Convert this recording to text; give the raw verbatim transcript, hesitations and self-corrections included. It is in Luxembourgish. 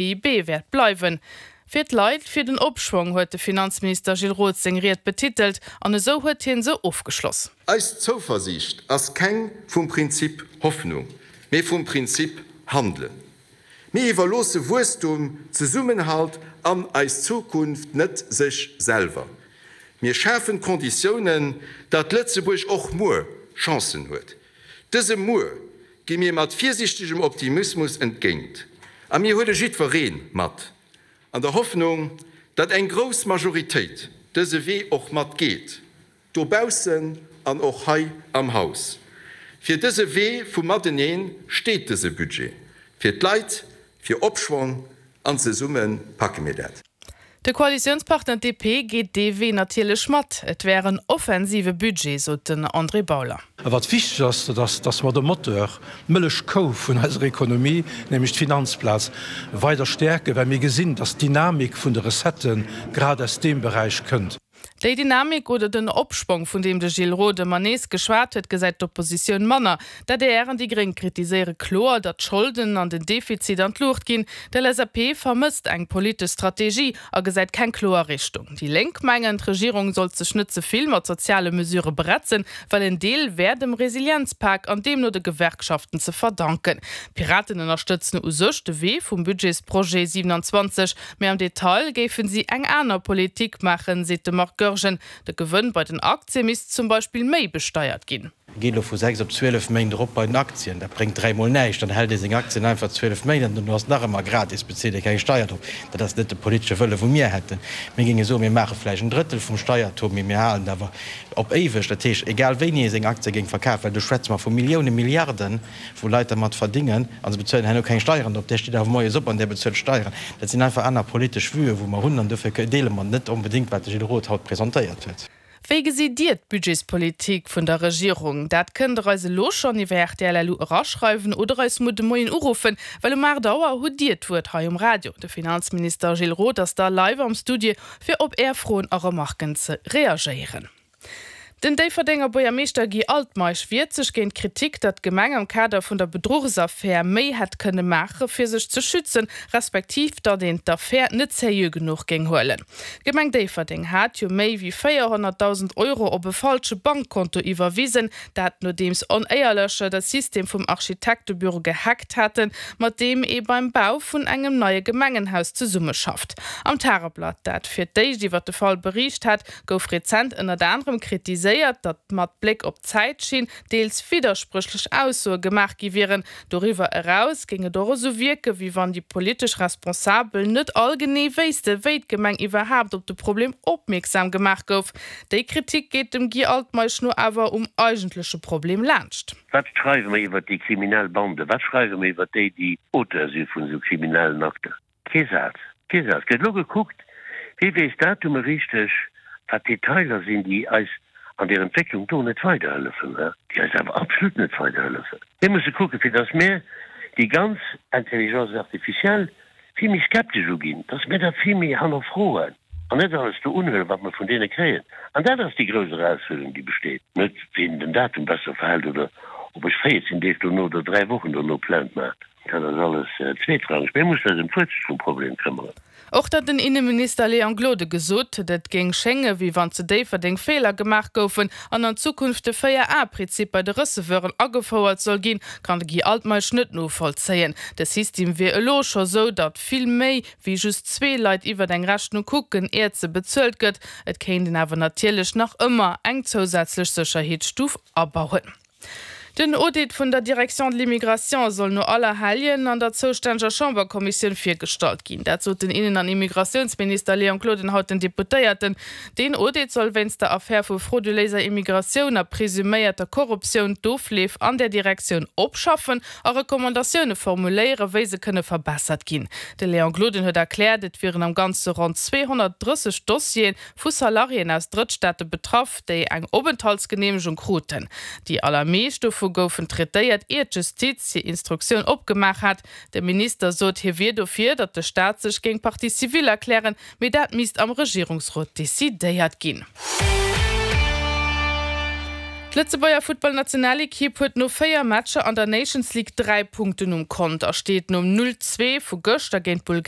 P I B wäert bleiwen. Fir d'Leit, fir den Opschwong huet de Finanzminister Gilles Roth seng Ried betitelt an esou huet hien se ofgeschloss. Eis Zouversiicht ass keng vum Prinzip Hoffnung, mee vum Prinzip Handelen. Mir iwwerloosse Wuesstum, Zesummenhalt an eis Zukunft net sech selwer. Mir schafen d'Konditiounen, datt Lëtzebuerg och muer Chancen huet. Dësem Muer gi mir mat virsiichtegem Optimismus entgéint a mir huele jiddweree mat, an der Hoffnung, datt eng grouss Majoritéit dëse Wee och mat geet, dobaussen an och hei am Haus. Fir dëse Wee vum Matenee steet dëse Budget, fir d'Leit, fir Opschwong, an zesumme packe mir dat. De Koalitiounspartner D P geet dee Wee natierlech mat. Et wär en offensive Budget, sot den André Bauler. A wat wichteg ass, dat ass, dass mer de Moteur, d'Mëllechkou vun eiser Ekonomie, nämlech d'Finanzplaz, weider stäerken, well mir gesinn, dass d'Dynamik vun de Recettë grad aus deem Beräich kënnt. Déi Dynamik oder den Opschwong, vun deem de Gilles Roth ëmmer nees geschwat huet, gesäit d'Oppositioun manner. D'A D R an déi Gréng kritiséiere kloer, datt d'Scholden an den Defizit an d'Luucht ginn. D'L S A P vermësst eng politesch Strategie a gesäit keng kloer Richtung. Déi Lénk mengen, d'Regierung sollt sech net ze vill mat soziale Mesure bretzen, well en Deel wär dem Resilienzpak an deemno de Gewerkschaften ze verdanken. D'Piraten ënnerstëtzen u sech de Wee vum Budgetsprojet siewenundzwanzeg, mee am Detail géifen si eng aner Politik maachen, seet de Marc Goergen. De Gewënn bei den Aktie misst zum Beispill méi besteiert ginn. Geet elo vu sechs op zwielef Méint erop bei den Aktien, dat bréngt dräimol näischt, dann hält ee seng Aktien einfach zwielef Méint an dono ass nach ëmmer gratis, bezilt ee keng Steier drop. Dat ass net de politesche Wëlle wou mir hätten. Mir géinge soen, mir maache vläicht en Drëttel vum Steiertaux, mee mir halen et awer op éiweg. Dat heescht, egal wéini ee seng Aktie géing verkafen, well do schwätze mer vu Milliounen, Milliarden, wou Leit dermat verdingen a se bezuelen herno keng Steieren drop, där steet awer moies op an där bezuelt Steieren. Dat sinn einfach aner politesch Vuen, wou mer hunn an dofir deele mer net onbedéngt, wat de Gilles Roth haut presentéiert huet. Wéi gesitt Dir d'Budgetspolitik vun der Regierung? Dat kënnt der eis elo schonn iwwer R T L L U eraschreiwen oder eis muer de Moien uruffen, well um aacht Auer hutt Dir d'Wuert hei um Radio. De Finanzminister Gilles Roth ass da live am Studio fir op Är Froen a Remarken ze reagéieren. Den Déifferdenger Buergermeeschter Guy Altmeisch wiert sech géint d'Kritik, datt d'Gemeng am Kader vun der Bedruchsaffär méi hätt kënne maache fir sech ze schützen, respektiv datt een d'Affär net seriö genuch géing huelen. D'Gemeng Déifferdeng hat jo méi wéi véierhonnertdausend Euro op e falsche Bankkonto iwwerwisen, dat nodeems Onéierlecher de System vum Architektebüro gehackt haten, mat deem ee beim Bau vun engem neie Gemengenhaus zesummeschafft. Am Tageblatt, dat fir d'éischt iwwer de Fall bericht hat, gouf rezent ënnert anerem kritiséiert, datt mat Bléck op d'Zäitschinn deels widderspréchlech Aussoe gemaach gi wieren. Doriwwer eraus géing et och esou wierken, wéi wann déi politesch Responsabel net all genee wéisste wéi d'Gemeng iwwerhaapt op de Problem opmierksam gemaach gouf. Déi Kritik geet dem Guy Altmeisch no awer um eigentleche Problem laanscht. Wat schreiwe mer iwwer déi kriminell Bande? Wat schreiwe mer iwwer déi, déi Auteur si vun esou kriminellen Akter? Kee Saz. Kee Saz. Gëtt elo gekuckt, wie weess Datume richteg, wat Detailer sinn, déi eis an der Entwécklung do net weiderhëllefen, déi eis awer absolut net weiderhëllefen. Mir musse kucken, fir datt mir déi ganz Intelligence artificielle vill méi skeptesch uginn, datt mir dat vill méi hannerfroen an net alles do unhuelen, wat mer vun deene kréien. An dat ass déi grouss Erausfuerderung, déi besteet. Net wien den Datum besser verhält oder ob ech véierzéng Deeg dono oder dräi Wochen dono Plainte maachen. Dat ass alles zweetrangeg. Mir mussen eis ëm d'Wuerzel vum Problem këmmeren. Och datt den Inneminister Léon Gloden gesot huet, et géing schénge wéi wann zu Déifferdeng Feeler gemaach goufen an an Zukunft de véier-A-Prinzip bei de Receveuren agefouert soll ginn, kann de Guy Altmeisch net novollzéien. De System wier elo scho sou, datt vill méi wéi just zwee Leit iwwer eng Rechnung kucken, iert se bezuelt gëtt. Et kéint een awer natierlech nach ëmmer eng zousätzlech Sécherheetsstuf abauen. Den Audit vun der Direction de l'immigration soll no Allerhelljen an der zoustänneger Chamberkommissioun virgestallt ginn. Dat sot den Innen- an Immigratiounsminister Léon Gloden haut den Deputéierten. Den Audit soll wéinst der Affär vu frauduléiser Immigratioun a presuméierter Korruptioun d'Ofleef an der Direktioun opschaffen a Recommandatioune formuléieren, wéi se kënne verbessert ginn. De Léon Gloden huet erkläert, et wieren am Ganze ronn zweehonnertdrësseg Dossiere vu Salariéen aus Drëttstaate betraff, déi eng Openthaltsgeneemegung kruten. Déi allermeescht dovu goufen traitéiert, iert d'Justiz hir Instruktioun opgemaach hat. De Minister sot, hie wier dofir, datt de Staat sech géing Partie civile erklären, mee dat misst am Regierungsrot decidéiert ginn. D'Lëtzebuerger Futtballnationalekipp huet no véier Matcher an der Nations League dräi Punkten um Kont a steet nom null zwee vu gëschter géint Bulgarien